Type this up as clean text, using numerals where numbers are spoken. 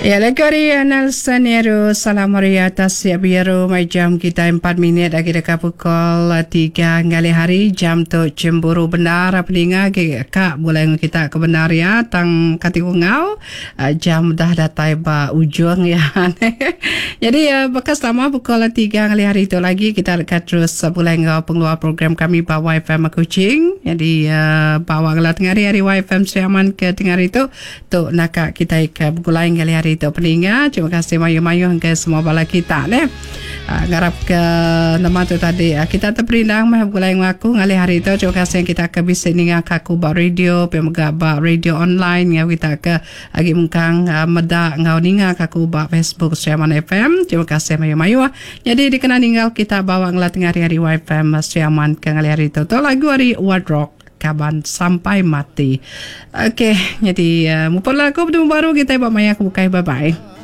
Ya lagu ari Nelson Nyeru Salam Hari Tasik Biru mai jam kitai 4 minit agi deka pukul 3 ngalih hari jam tu cemburu bendar peninga agi ka bulai enggau kita ke bendar ya tang kati ku enggau jam dah datai ba ujung ya. Jadi baka selama pukul 3 ngalih hari tu lagi kita deka terus bulai enggau pengeluar program kami ba YFM Kuching. Jadi ba awak ngela tengah hari ari YFM Sri Aman ke tengah hari tu Tu naka kitai ke begulai ngalih hari tu peninga. Terima kasih mayuh-mayuh enggai semua bala kita neh. Ngarap ke nama tu tadi kita teperindang meh begulai enggau aku ngalih hari tu. Terima kasih kita ke bisi ninga ka aku ba radio pia mega ba radio online enggau kita ke agi mengkang meda enggau ninga ka aku ba Facebook Sri Aman FM. Terima kasih mayuh-mayuh. Nyadi dikena ninggal kita bawa ngela tengah hari-hari YFM Sri Aman ke ngalih hari tu. Tu lagu ari Ward Rock. Kaban sampai mati. Ok nyadi muput lagu betemu baru kitai ba maya ke bukai bye bye.